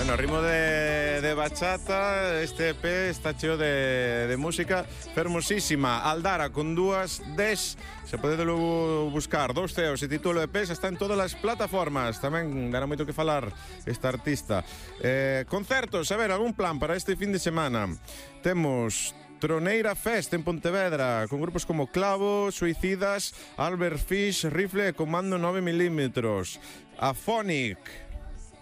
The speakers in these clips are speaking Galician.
Bueno, ritmo de bachata, este EP está cheo de música fermosísima. Aldara con dúas des, se pode logo buscar, dous ceos, e título EP xa está en todas as plataformas. Tamén dará moito que falar esta artista. Concertos, a ver, algún plan para este fin de semana? Temos Troneira Fest en Pontevedra, con grupos como Clavo, Suicidas, Albert Fish, Rifle e Comando 9mm. Afonic,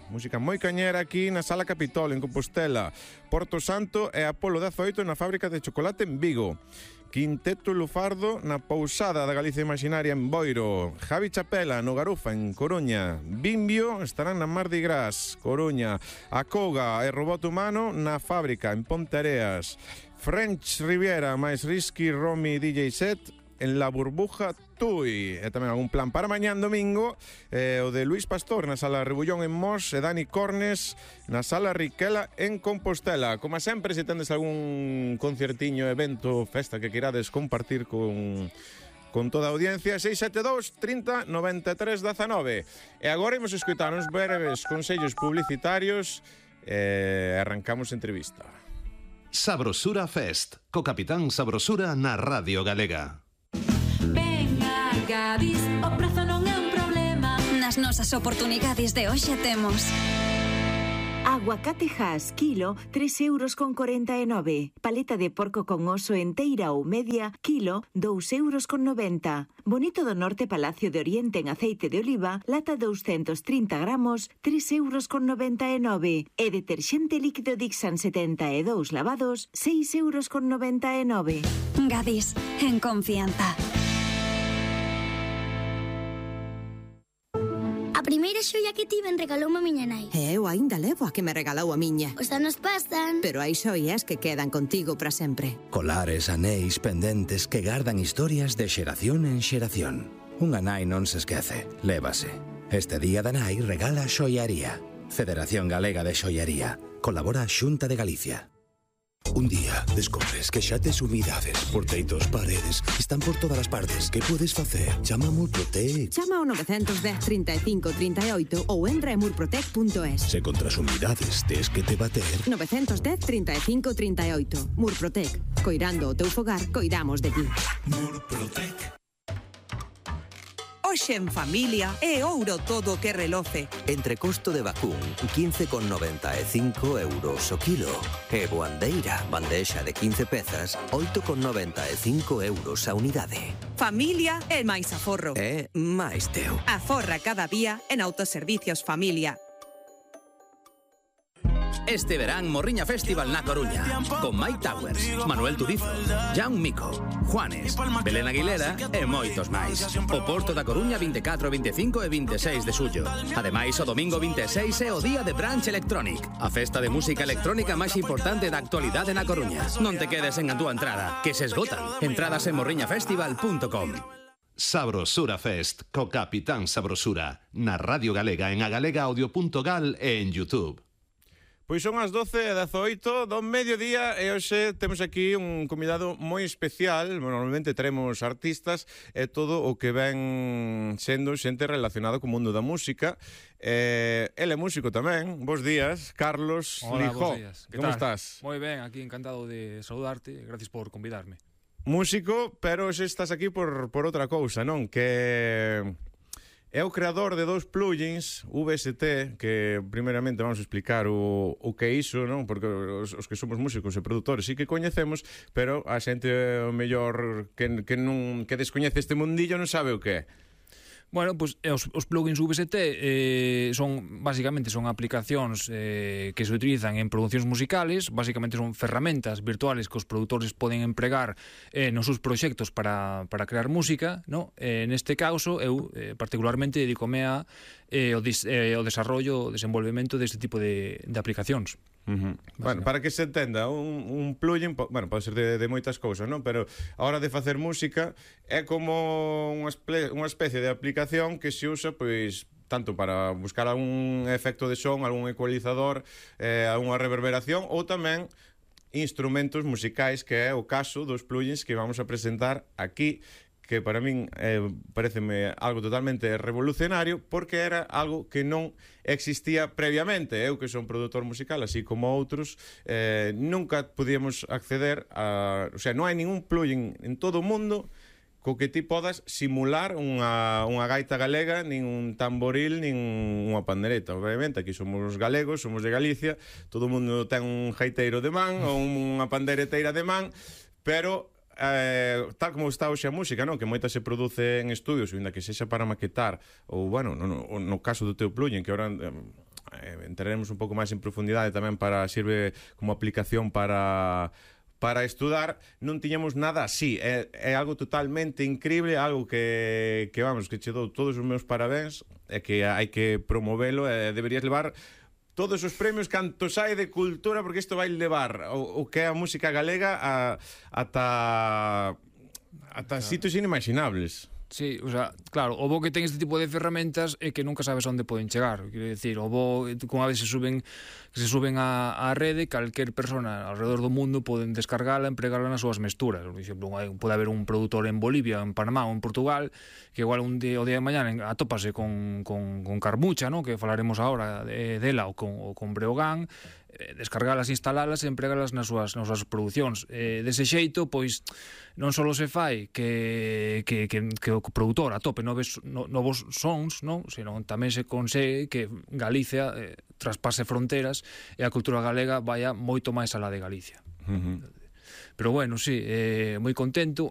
música moi cañera aquí na Sala Capitol, en Compostela. Porto Santo e Apolo 18 na fábrica de chocolate en Vigo. Quinteto Lufardo na Pousada da Galicia Imaginaria en Boiro. Javi Chapela no Garufa en Coruña. Bimbio estarán na Mardi Gras, Coruña. Acoga e Robot Humano na fábrica en Ponteareas. French Riviera máis Risky Romy DJ set en La Burbuja Tui. E tamén algún plan para mañán domingo, o de Luis Pastor na Sala Rebullón en Mos e Dani Cornes na Sala Riquela en Compostela. Como sempre, se tendes algún concertiño, evento, festa que queirades compartir con toda a audiencia, 672 30 93 19. E agora imos escoitar uns breves consellos publicitarios e arrancamos a entrevista. Sabrosura Fest, co Capitán Sabrosura na Radio Galega. Venga, Gadis, o prezo non é un problema. Nas nosas oportunidades de hoxe temos aguacate Hass, kilo, 3,49 €. Paleta de porco con oso enteira ou media, kilo, 2,90 €. Bonito do Norte Palacio de Oriente en aceite de oliva, lata 230 gramos, 3,99 €. E deterxente líquido Dixan 72 lavados, 6,99 €. Gadis, en confianza. A primeira xoia que tiven regaloume a miña nai. E eu aínda levo a que me regalou a miña. Os anos pasan. Pero hai xoias que quedan contigo para sempre. Colares, anéis, pendentes que gardan historias de xeración en xeración. Unha nai non se esquece, lévase. Este día da nai regala xoiaría. Federación Galega de Xoiaría. Colabora a Xunta de Galicia. Un día descobres que xa tes humidades por teitos, paredes, están por todas as partes. Que podes facer? Chama a Murprotec. Chama ao 910 35 38 ou entra en murprotec.es. Se contra as humidades tes que te bater. 910 35 38. Murprotec. Coirando o teu fogar, coidamos de ti. Murprotec. Hoxe en familia é ouro todo o que reloce. Entrecosto de vacún, 15,95 € o kilo. E boandeira, bandexa de 15 pezas, 8,95 € a unidade. Familia é máis aforro. É máis teu. Aforra cada día en Autoservicios Familia. Este verán Morriña Festival na Coruña, con Mike Towers, Manuel Turizo, Jan Mico, Juanes, Belén Aguilera e moitos máis. O Porto da Coruña 24, 25 e 26 de xullo. Ademais, o domingo 26 é o día de Brunch Electronic, a festa de música electrónica máis importante da actualidade na Coruña. Non te quedes en a túa entrada, que se esgotan. Entradas en morriñafestival.com. Sabrosura Fest, co Capitán Sabrosura, na Radio Galega, en agalegaaudio.gal e en YouTube. Pois son as 12:18 do mediodía e hoxe temos aquí un convidado moi especial. Normalmente teremos artistas e todo o que ven sendo xente relacionada co mundo da música. Ele é músico tamén. Bos días, Carlos Lijó. Bos días. Como estás? Moi ben, aquí encantado de saludarte. Gracias por convidarme. Músico, pero hoxe estás aquí por outra cousa, non? Que é o creador de dous plugins VST, que primeiramente vamos a explicar o que é iso, non? Porque os que somos músicos e produtores sí que coñecemos, pero a xente o mellor que descoñece este mundillo non sabe o que é. Bueno, pues os plugins VST basicamente son aplicacións que se utilizan en producións musicales. Basicamente son ferramentas virtuales que os produtores poden empregar nos seus proxectos para crear música, ¿no? Neste caso, eu particularmente dedicome ao desarrollo, o desenvolvemento deste tipo de aplicacións. Bueno, para que se entenda, un plugin, bueno, pode ser de moitas cousas, non? Pero a hora de facer música é como unha especie de aplicación que se usa, pois, tanto para buscar algún efecto de son, algún ecualizador, algunha reverberación, ou tamén instrumentos musicais, que é o caso dos plugins que vamos a presentar aquí, que para min pareceme algo totalmente revolucionario, porque era algo que non existía previamente. Eu, que son produtor musical, así como outros, nunca podíamos acceder a... O sea, non hai ningún plugin en todo o mundo co que ti podas simular unha gaita galega, nin un tamboril, nin unha pandereta. Obviamente, aquí somos galegos, somos de Galicia, todo o mundo ten un gaiteiro de man ou unha pandereteira de man, pero tal como está hoxe a música, non? Que moita se produce en estudios, ainda que sexa para maquetar, ou, bueno, no caso do teu plugin, que ahora entraremos un pouco máis en profundidade tamén, sirve como aplicación para estudar, non tiñamos nada así. É algo totalmente increíble, algo que vamos, que che dou todos os meus parabéns, e que hai que promovelo, e deberías levar todos os premios cantos hai de cultura, porque isto vai levar o que é a música galega ata sitios inimaginables. Sí, o sea, claro, o bo que ten este tipo de ferramentas é que nunca sabes onde poden chegar. Quero dicir, o bo, como a veces se suben á rede, calquer persona alrededor do mundo poden descargala, empregala nas súas mesturas. Por exemplo, pode haber un produtor en Bolivia, en Panamá ou en Portugal, que igual o día de mañana atópase con Carmucha, ¿no? Que falaremos agora dela, ou con Breogán, descargalas, instalalas e empregalas nas súas producións. Dese xeito, pois, non só se fai que o produtor atope novos sons, non? Senón tamén se consegue que Galicia traspase fronteras e a cultura galega vaya moito máis alá de Galicia. Pero bueno, sí, moi contento.